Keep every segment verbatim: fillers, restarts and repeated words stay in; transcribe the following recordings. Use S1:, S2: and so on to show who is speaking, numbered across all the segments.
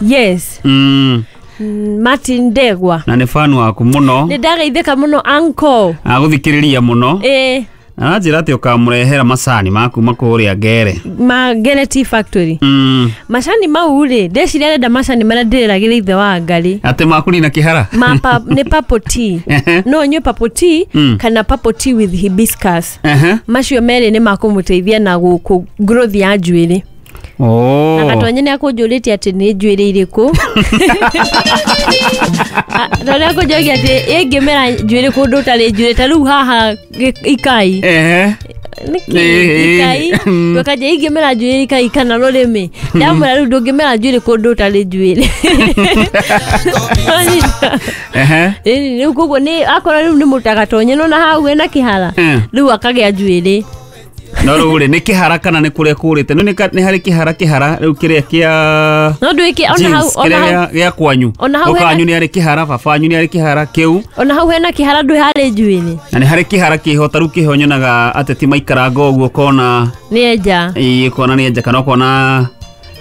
S1: Yes.
S2: Mm.
S1: Martin Ndegwa.
S2: Na nĩ fan waku mũno.
S1: Nĩ ndageithĩka mũno uncle.
S2: Agũthikĩrĩria mũno.
S1: Ĩĩ.
S2: Aranjĩra atĩ ũkamũrehera macani ma kuma kũrĩa Ngere.
S1: Ma Ngere Tea Factory.
S2: Mm.
S1: Macani mau rĩ, ndeciria arenda macani marĩa ndĩreragĩra ithe wa Ngarĩ.
S2: Atĩ makũnina kĩhara?
S1: Ma pa, nĩ purple tea. No nyue purple tea
S2: Mm.
S1: kana purple tea with hibiscus.
S2: Ehe.
S1: Macio merĩ nĩ makũmũteithia na gũkũ growth ya njuĩrĩ.
S2: Oh.
S1: Na Gatonye nĩ akũnjũrĩtie atĩ nĩ njuĩrĩ irĩkũ. Tondũ nĩ akũnjũragia atĩ ĩngĩmera njuĩrĩ kũndũ ũtarĩ njuĩrĩ ta rĩu haha ikai.
S2: Ehe.
S1: Nĩkĩ
S2: Ĩĩ.
S1: ikai? Ndũkanje ingĩmera njuĩrĩ ikai kana rũrĩmĩ. Ndamwĩra rĩu ndũngĩmera njuĩrĩ kũndũ ũtarĩ njuĩrĩ.
S2: Ehe.
S1: Ĩni rĩu koguo nĩ akorwo rĩu nĩ mũtagatonye no na hau hena kĩhara.
S2: Eh.
S1: Rĩu akagĩa njuĩrĩ.
S2: No rĩu rĩ, nĩ kĩhara kana nĩ kũrĩa kũrĩte? No nĩ harĩ kĩhara kĩhara rĩu kĩrĩa kĩa
S1: No ndwĩke ona hau
S2: jeans,
S1: ona
S2: kĩrĩa
S1: hau
S2: gĩa- gĩa kwanyu.
S1: Ona hau hena-
S2: Guka wanyu nĩ arĩ kĩhara, baba wanyu nĩ arĩ kĩhara kĩu.
S1: Ona hau hena kĩhara ndwĩ harĩ njuĩrĩ.
S2: Na nĩ harĩ kĩhara kĩho ta rĩu kĩho nyonaga ateti maikaranga ũguo ũkona
S1: Nĩ enja.
S2: Ĩĩ, ũkona nĩ enja kana ũkona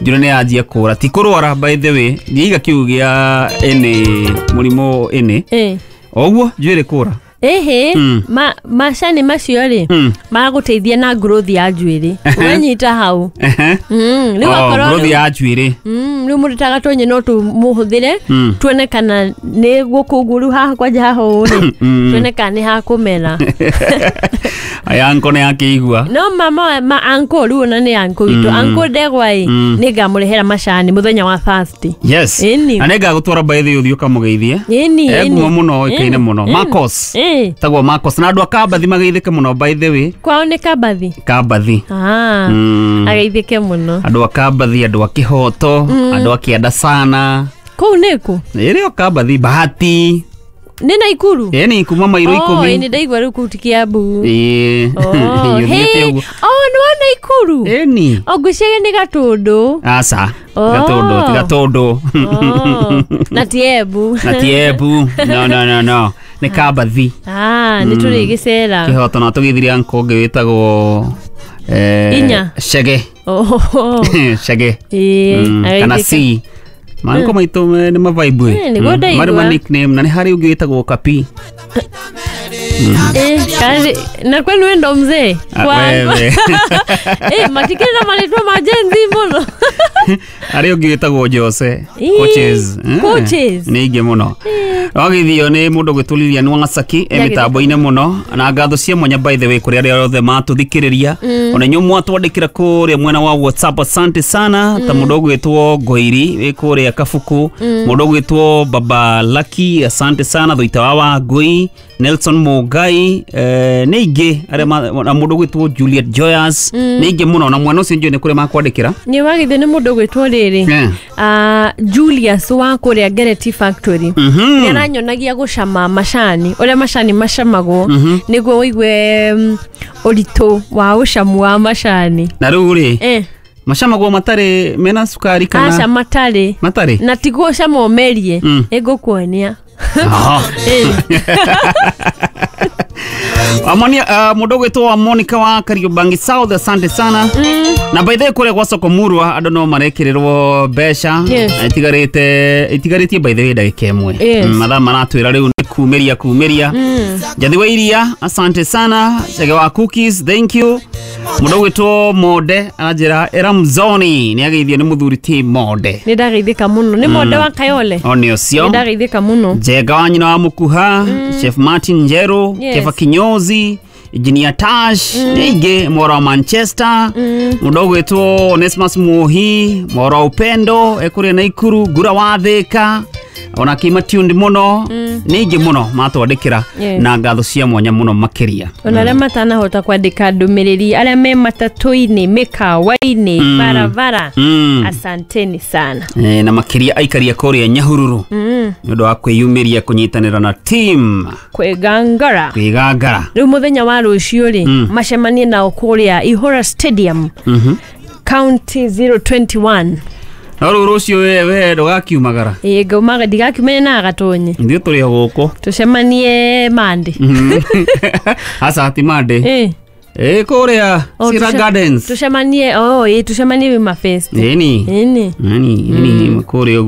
S2: njuĩrĩ nĩ yanjia kũra. Ti kũrwara by the way, ndiaiga kiugo gĩa ĩnĩ mũrimũ ĩnĩ.
S1: Ĩĩ.
S2: Oguo njuĩrĩ kũra.
S1: Ĩhĩ,
S2: Mm.
S1: ma macani macio rĩ
S2: Mm.
S1: magũteithia na growth ya njuĩrĩ. Wanyita hau.
S2: Ehe.
S1: Mm, rĩu
S2: Oh,
S1: akorwo
S2: growth
S1: rĩu-
S2: ya njuĩrĩ.
S1: Mm, rĩu mũndũ ta Gatonye no tũmũhũthĩre
S2: Mm.
S1: tuone kana nĩ gũkũ ũguo rĩu haha kwanja haha ũũ rĩ
S2: Mm.
S1: tuone kana nĩ hakũmera.
S2: Aya anko nĩ akĩigua.
S1: No mama ma uncle rĩu ona nĩ uncle witũ.
S2: Mm.
S1: Uncle Ndegwa ĩ
S2: Mm.
S1: nĩ ngamũrehera macani mũthenya wa Thursday.
S2: Yes.
S1: Ĩni.
S2: Na nĩ ngagũtwara by the way ũthiĩ ũkamũgeithie.
S1: Ĩni,
S2: E
S1: ĩni.
S2: ngumo mũno ĩkaine
S1: Ĩni,
S2: mũno.
S1: ĩni.
S2: Marcos.
S1: Ĩ.
S2: Tagwo Marcos na andũ a Kambathi mageithĩke mũno by the way.
S1: Kwao nĩ Kambathi?
S2: Kambathi.
S1: Ah.
S2: Mm.
S1: Ageithĩke mũno.
S2: Andũ a Kambathi, andũ a Kĩhoto, andũ a Kĩanda sana.
S1: Kũu nĩkũ?
S2: Ĩrĩ o Kambathi, Bahati.
S1: Nĩ Naikuru?
S2: Ĩni kuma mairũ
S1: Oh,
S2: ikũmi.
S1: ĩni ndaigua rĩu kũu ti Kiambu.
S2: Ĩĩ.
S1: Oh,
S2: Ũthiĩte
S1: hey.
S2: ũguo.
S1: Oh, nĩ wa Naikuru?
S2: Ĩni.
S1: O ngwĩciria nĩ Gatũndũ.
S2: Aca.
S1: Oh.
S2: Gatũndũ, ti Gatũndũ.
S1: Oh, na ti Embu.
S2: Na ti Embu. No, no, no, no. Nĩ Kambathi.
S1: Ah, nĩ tũrĩgĩcera.
S2: Kĩhoto na tũgĩthirie uncle ũngĩ wĩtagwo eh,
S1: Inya.
S2: Chege.
S1: Oh.
S2: Chege.
S1: Ĩĩ,
S2: Mm, kana
S1: ageithĩke.
S2: C. Manko maitũ me- nĩ mavaibu.
S1: Eh, nĩguo ndaigua.
S2: Marĩ ma nickname na nĩ harĩ ũngĩ wĩtagwo Kapi.
S1: Eh, kari na kwenu we ndo mzee?
S2: Ah,
S1: Kwa-
S2: wewe.
S1: Eh, matikĩrĩ na marĩtwa ma Gen Z mũno.
S2: Harĩ ũngĩ wĩtagwo Jose.
S1: Ii,
S2: Coaches. Eh,
S1: coaches.
S2: Nĩ aingĩ mũno. Wagĩthio nĩ mũndũ ũgwĩtwo Lilian Wangasaki e
S1: Nĩagĩthĩka.
S2: mĩtambo-inĩ mũno na ngatho cia mwanya by the way kũrĩ arĩa othe matũthikĩrĩria ona inyuĩ mwatwandĩkĩra kũrĩa mwena wa WhatsApp, asante sana ta mũndũ ũgwĩtwo Ngoiri wĩ kũrĩa Kabuku, mũndũ ũgwĩtwo Baba Lucky, asante sana Thuita wa Wangui, Nelson Mugai, eh, nĩ aingĩ arĩa ma- na mũndũ ũgwĩtwo Juliet Joyous, nĩ aingĩ mũno na mwena ũcio njũĩ nĩ kũrĩa makwandĩkĩra.
S1: Nĩ wagĩthio nĩ mũndũ ũgwĩtwo rĩrĩ
S2: Eh.
S1: Ah, Julius wa kũrĩa Ngere Tea Factory.
S2: Mhm.
S1: Nĩ aranyonagia gũcama macani ũrĩa macani macamagwo nĩguo ũigue mm, ũritũ wa ũcamu wa macani.
S2: Na rĩu rĩ
S1: Eh,
S2: macamagwo matarĩ mena cukari
S1: aca
S2: kana
S1: matarĩ
S2: matarĩ?
S1: Na tiguo ũcama ũmerie.
S2: Mm.
S1: Nĩngũkuonia.
S2: Aha.
S1: Eh.
S2: Amonia, uh, mũndũ ũgwĩtwo wa Monica wa Kariobangi South, asante sana. Na by the way kũrĩa gwa soko Murwa andũ no marekĩrĩrwo mbeca.
S1: Yes.
S2: Itigarĩte itigarĩtie by the way ndagĩka ĩmwe.
S1: Yes.
S2: Mm, mathaa maratwĩra rĩu nĩ kumĩria kumĩria. Njathi wa iria, asante sana. Chege wa cookies, thank you. Mũndũ ũgwĩtwo Monde aranjĩra Eramzoni nĩ ageithio nĩ mũthuri ti Monde.
S1: Nĩ ndageithĩka mũno nĩ Monde wa Kayole.
S2: O nĩ ũcio.
S1: Nĩ ndageithĩka mũno.
S2: Njega wa nyina wa Mukuha, Chef Martin Njeru,
S1: Yes.
S2: Kefa Kinyozi, Engineer Tash, nĩ aingĩ mworo wa Manchester, mũndũ ũgwĩtwo Onesmus Muhi, mworo wa Upendo, ekũrĩa Naikuru, Ngura wa Thĩka, ona kĩma tuned mũno, nĩ aingĩ mũno matwandĩkĩra
S1: Yes.
S2: na ngatho cia mwanya mũno makĩria.
S1: Ona arĩa matanahota kwandĩka ndũmĩrĩri arĩa me matatũ-inĩ mĩkawa-inĩ barabara,
S2: Mm.
S1: asanteni sana.
S2: Eh, na makĩria aikaria kũrĩa Nyahururu
S1: Mm.
S2: nĩ ũndũ wa kwĩyumĩria kũnyitanĩra na team
S1: Kwĩgangara.
S2: Kwĩgangara.
S1: Rĩu mũthenya wa rũciũ rĩ
S2: Mm.
S1: macemanie nao kũrĩa Ihũra Stadium,
S2: Mhm.
S1: County zero twenty-one.
S2: No rĩu rũciũ we we ndũgakiumagara.
S1: Ĩĩ, ngaumaga ndigakiumane na Gatonye.
S2: Ithuĩ tũrĩ o gũkũ.
S1: Tũcemanie Mande.
S2: Aca ti Mande.
S1: Ĩ.
S2: Ĩ kũrĩa
S1: Oh,
S2: Sira
S1: tuce-
S2: Gardens.
S1: Tucemanie, oh, ĩ tucemanie Wima Fest.
S2: Ĩni.
S1: Ĩni.
S2: Ĩni, ĩni kũrĩa ũguo.